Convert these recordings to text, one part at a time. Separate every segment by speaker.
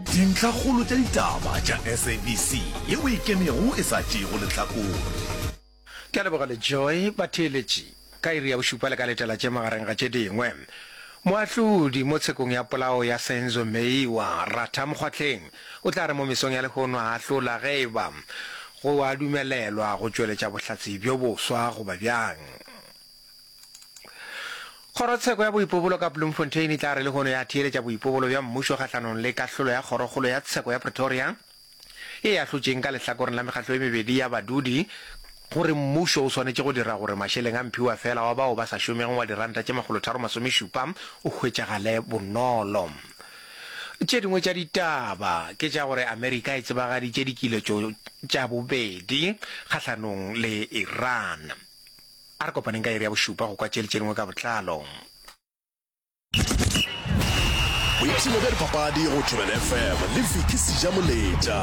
Speaker 1: Dintlhakgolo tša ditaba tša SABC yeo e ikemego e sa tšeego lehlakore.
Speaker 2: Ke a leboga Lejoy. Batheeletši, ka iri ya bošupa le ka letela tše magareng ga tše dingwe. Moahlodi mo tshekong ya polao ya Senzo Meyiwa, Ratha Mokgwatlheng, o tla re mo mesong ya lehono a ahlola ge e ba go a dumelelwa go tšweletša bohlatse bjo boswa goba bjang. Kgorotsheko ya boipobolo ka Bloemfontein e tla re lehono ya theeletša boipobolo bja mmušo kgahlanong le kahlolo ya Kgorokgolo ya Tsheko ya Pretoria ye e ahlotšeng ka lehlakoreng la mekgatlo e mebedi ya badudi gore mmušo o swanetše go dira gore mašeleng a mphiwafela wa bao ba sa šomego wa diranta tše makgolotharo-masomešupa o hwetšagale bonolo. Tše dingwe tša ditaba ke tša gore Amerika e tsebagaditše dikiletšo tša bobedi kgahlanong le Iran. A re kopaneng ka iri ya bošupa go kwa tše le tše dingwe ka botlalo.
Speaker 1: Boipshino bja dipapadi go Thobela FM le Vicky Sejamoletša.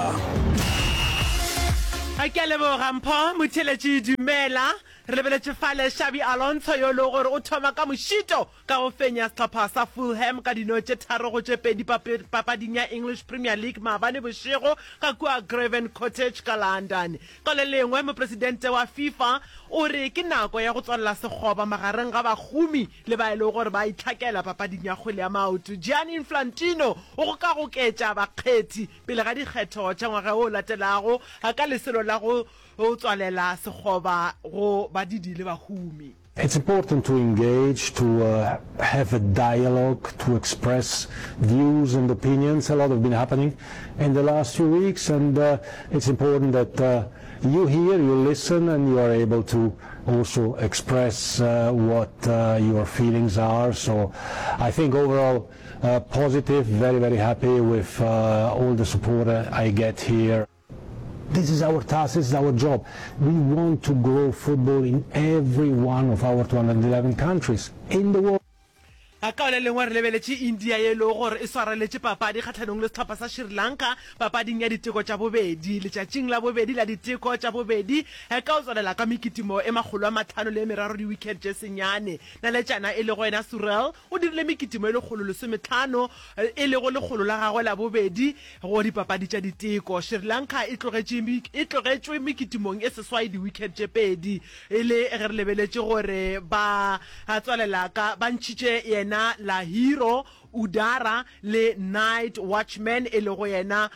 Speaker 3: Ke a leboga Mpho Motheeletši dumela. Re lebeletše fale Xabi Alonso yo e lego gore o thoma ka mošito ka go fenya sehlopha sa Fulham ka dino tše 3 go tše 2 papading ya English Premier League maabane bošego ka kua Craven Cottage ka London. Ka le lengwe, mopresidente wa FIFA o re ke nako ya go tswalela sekgoba magareng ga bahumi le ba e lego gore ba itlhakela papading ya kgwele ya maoto. Gianni Infantino o gokagoketša bakgethi pele ga dikgetho tša ngwaga o latelago ka lesolo la go tswalela sekgoba go badidi le bahumi.
Speaker 4: It's important to engage, to have a dialogue, to express views and opinions. A lot have been happening in the last few weeks and it's important that you hear, you listen and you are able to also express what your feelings are. So I think overall positive, very, very happy with all the support I get here. This is our task, this is our job. We want to grow football in every one of our 211 countries in the world.
Speaker 3: Ka le lengwe re lebeletše India ye e lego gore e swareletše papadi kgahlanong le sehlopha sa Sri Lanka papading ya diteko tša bobedi letšatšing la bobedi la diteko tša bobedi ka go tswalela ka mekitimo e 503 di-wicket tše senyane. Naletšana e lego yena Surel o dirile mekitimo e 115 e lego lekgolo la gagwe la bobedi Go dipapadi tša diteko, Sri Lanka e tlogetše e tlogetšwe mekitimong e seswai di-wicket tše pedi e le ge re lebeletše gore ba tswalela ka ba ntšhitše yena Lahiro Udara le Night Watchman e lego yena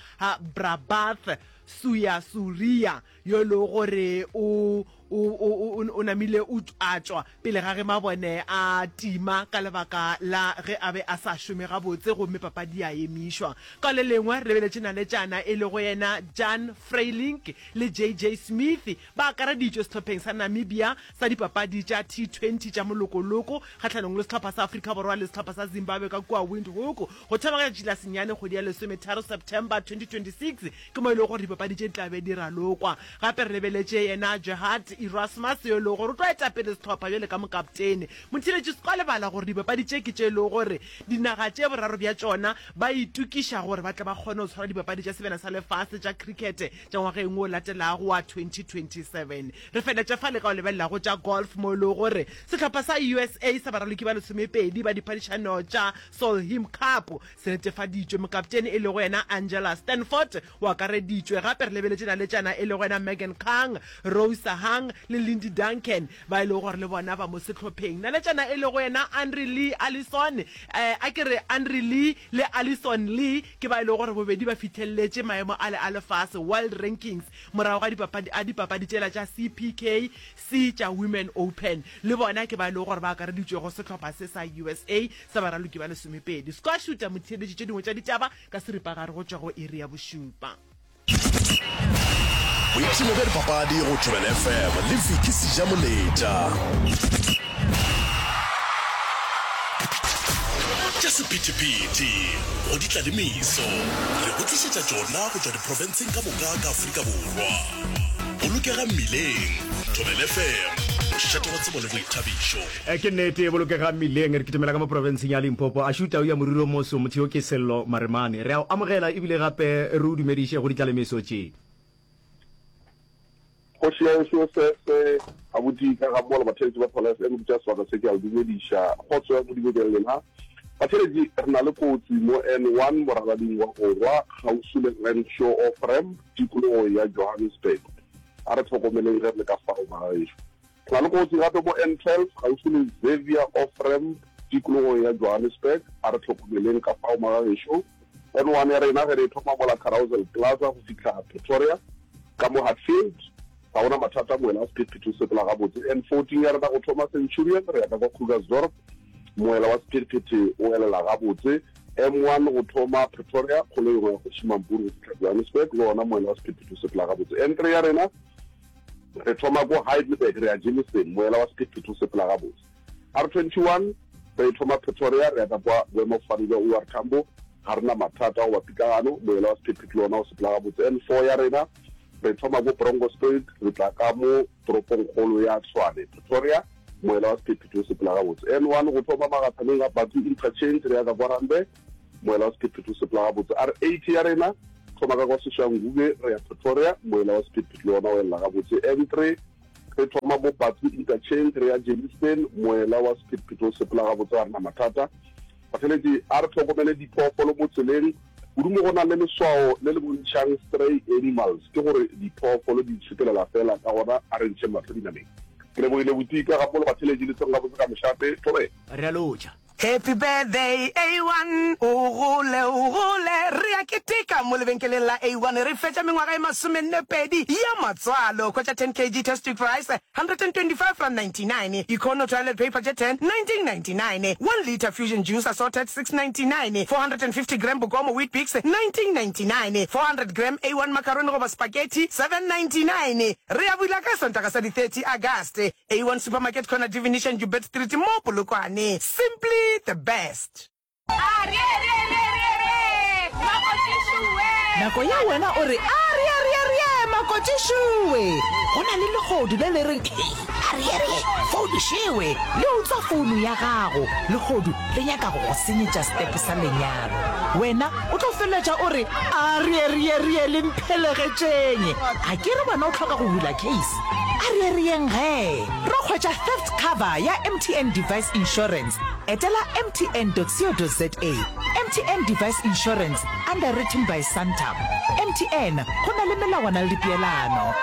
Speaker 3: Prabath Suyasuriya yo e lego gore o o, o, o, o namile o a tšwa pele ga ge mabone a tima ka lebaka la ge a be a sa šome gabotse gomme papadi ya emišwa. Ka le lengwe re lebeletše naletšana e lego yena Jan Freilink le JJ Smith ba akareditšwe sehlopheng sa Namibia sa dipapadi tša T20 tša molokoloko kgahlanong le sehlopha sa Afrika Borwa le sehlopha sa Zimbabwe ka kua Windhoek go thoma ka letšatši la senyane kgwedi ya lesometharo September 2026. Ke mo e lego gore dipapadi tše di tla be di ralokwa. Gape re lebeletše yena Gerhard Erasmus yo e lego gore o tlo eta pele sehlopha bjale ka mokaptene. Motheeletši se ka lebala gore dipapadi tše ke tše e lego gore dinaga tše boraro bja tšona ba itokiša gore ba tle ba kgone go tshwara dipapadi tša Sebjana sa Lefase tša Cricket tša ngwageng wo latelago wa 2027. Re feletše fale ka go lebelela go tša golf mo e lego gore sehlopha sa USA sa baraloki ba lesomepedi ba diphadišano tša Solheim Cup Se netefaditšwe, mokaptene e lego yena Angela Stanford o akareditšwe. Gape re lebeletše naletšana e lego yena Megan Khang, Rosa Hang le Lindy Duncan ba e lego gore le bona ba mo sehlopheng. Naletšana e lego yena Andre Lee Allison, eh, a ke re Andre Lee le Allison Lee ke ba e lego gore bobedi ba fihleletše maemo ale a lefase, world rankings, morago ga dipapadi a dipapadi tšela tša CPK C tša Women Open. Le bona ke ba e lego gore ba akareditšwe go sehlopha se sa USA sa baraloki ba lesomepedi. Squash o tla mo theeletše tše dingwe tša ditaba ka seripagare go tšwa go iri ya bošupa.
Speaker 1: Boipshino bja dipapadi go Thobela FM le Vicky Sejamoletša. Tša sephethephethe go di tla le meso, re go tlišetša tšona go tšwa diprofenseng ka moka ka Afrika Borwa. Bolokega mmileng, Thobela FM, mošate wa tsebo le boithabišo.
Speaker 5: Ke nnete, e bolokega mmileng. Re kitimela ka mo profenseng ya Limpopo. A šuta o ya moriri o moso, motho yo ke Sello Maremane. Re a o amogela ebile gape re o dumediše go ditlalemeso tše.
Speaker 6: Kgoši ya gešo Sese, abuti ka ga mola batheeletši ba Phala FM, ke tšea sebaka se ke a le dumediša. Kgotso ya Modimo e be le lena. Batheeletši, re na le kotsi mo N1 morabading wa borwa kgauswi le Renshaw Off-Ramp tikologong ya Johannesburg. A re hlokomeleng ge re le ka fao bagagešo. Re na le kotsi gape mo N12 kgauswi le Xavier Off-Ramp tikologong ya Johannesburg. A re hlokomeleng ka fao magagešo. N1 ya rena ge re e thoma mola Carousel Plaza go fihla Pretoria ka mo Hatfield ga gona mathata, moela wa sephethephethe o sepela gabotse. N14 ya rena go thoma Centurion re ya ka kwa Krugersdorp Moela wa sephethephethe o elela gabotse. M1 go thoma Pretoria, kgolo yengwe ya Kgoši Mampuru go fihla Johannesburg, le wona moela wa sephethephethe o sepela gabotse. N3 ya rena re thoma ko Heidelberg re ya Germiston, moela wa sephethephethe o sepela gabotse. R21 re thoma Pretoria re ya ka kwa boemafofane bja OR Tambo, ga re na mathata goba pitlagano, moela wa sephethephethe le wona o sepela gabotse. N4 ya rena re thoma ko Bronkhorstspruit re tla ka mo toropongkgolo ya Tshwane, Pretoria, Moela wa sephethephethe o sepela gabotse. N1 go thoma magathaneng a Bathu Interchange re ya ka kwa Randburg. Moela wa sephethephethe o sepela gabotse. R80 ya rena thoma ka kwa Soshanguve re ya Pretoria. Moela wa sephethephethe le wona o elela gabotse. N3 re thoma mo Bathu Interchange re ya Germiston. Moela wa sephethephethe o sepela gabotse ga re na mathata. Batheeletši, a re hlokomele diphoofolo mo tseleng, kudu mo go nang le leswao le le bontšhang stray animals, ke gore diphoofolo di itshepelela feela, ka gona a re ntšheng mahlo dinameng. Ke lebogile Botika gammogo le batheeletši le seng gabotse ka mošate. Thobela.
Speaker 5: Re a lotšha.
Speaker 7: Happy birthday A1 O gole o gole Re a keteka mo lebenkeleng la A1 Re fetša mengwaga e masomennepedi ya matswalo Hwetša 10 kg Test-Quick Rice R125.99, Econo toilet paper tše 10, 1999, 1 litre Fusion juice assorted, 6.99, 450 gram Bokomo Weet-Bix, 1999, 400 gram A1 macaroni goba spaghetti, 7.99. Re a bula ka Sontaga sa di 30 Agast. A1 Supermarket corner Divination Joubert Street mo Polokwane. Simply the best.
Speaker 8: Nako ya wena o re, Arearearee, makotšišowe! Go na le lehodu le le reng, Hei, arearee, founu šewe! Le utswa founu ya gago. Lehodu le nyaka go go senyetša setepe sa lenyalo. Wena o tlo feleletša o re, Arearearee, le mphelegetšeng! A ke re wena o hloka go bula case? Areareeng gee! Ro hwetša theft cover ya MTN Device Insurance. Etela mtn.co.za. MTN Device Insurance, underwritten by Santam. MTN, go na le melawana le dipeelano.